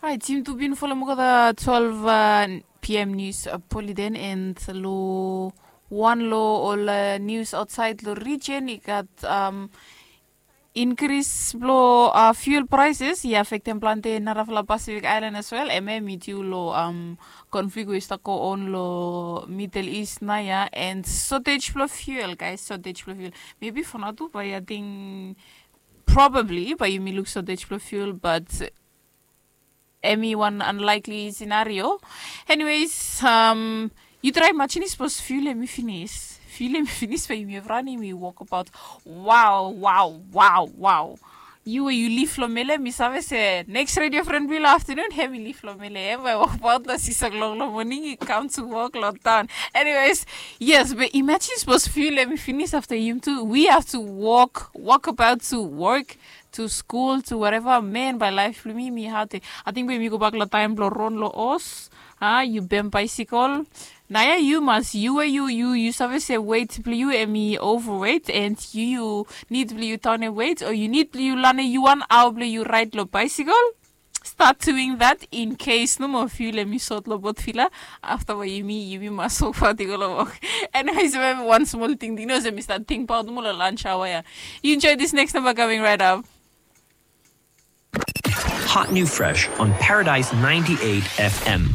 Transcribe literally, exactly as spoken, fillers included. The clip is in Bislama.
Right, yumi tu bin folem olgeta twelve uh, p m news uh, bulletin, and lo wan lo ol uh, news outside lo region i gat um, increase blo uh, fuel prices i affectem planti narafala Pacific Island as well. Em em i due lo um, conflict we i start go on lo Middle East naya, and shortage blo fuel, guys, shortage blo fuel. Maybe for now too, but I think probably but yumi look shortage blo fuel, but em i wan unlikely scenario. Anyways, um, yu try imagine sapos fuel em i finis. Fuel em i finis, but yumi have run, yumi walk about. Wow, wow, wow, wow. Yu we yu live lo Mele, mi save se next radio friend blo afternoon, hem i live lo Mele. Em i walk about lo six o'clock lo morning, i come to work lo town. Anyways, yes, but imagine sapos fuel em i finis after yumi tu, we have to walk, walk about to work, to school, to whatever. Man, by life blo mi, mi hard. I think we mi go back lo time blo ron lo os. Ah, yu bem bicycle. Naya, yu mas, yu we yu yu yu save se weight blo yu em i overweight, and yu yu need blo yu town e weight, or yu need blo yu lane yu wan hour blo yu ride lo bicycle. Start doing that in case no more fuel em i sot lo bot fila. After wa yumi yumi mas so far to go lo work. Anyways, maybe one small thing, you know, se mi start think about mo lo lunch hour ya. You enjoy this next number coming right up. Hot new fresh on Paradise ninety-eight F M.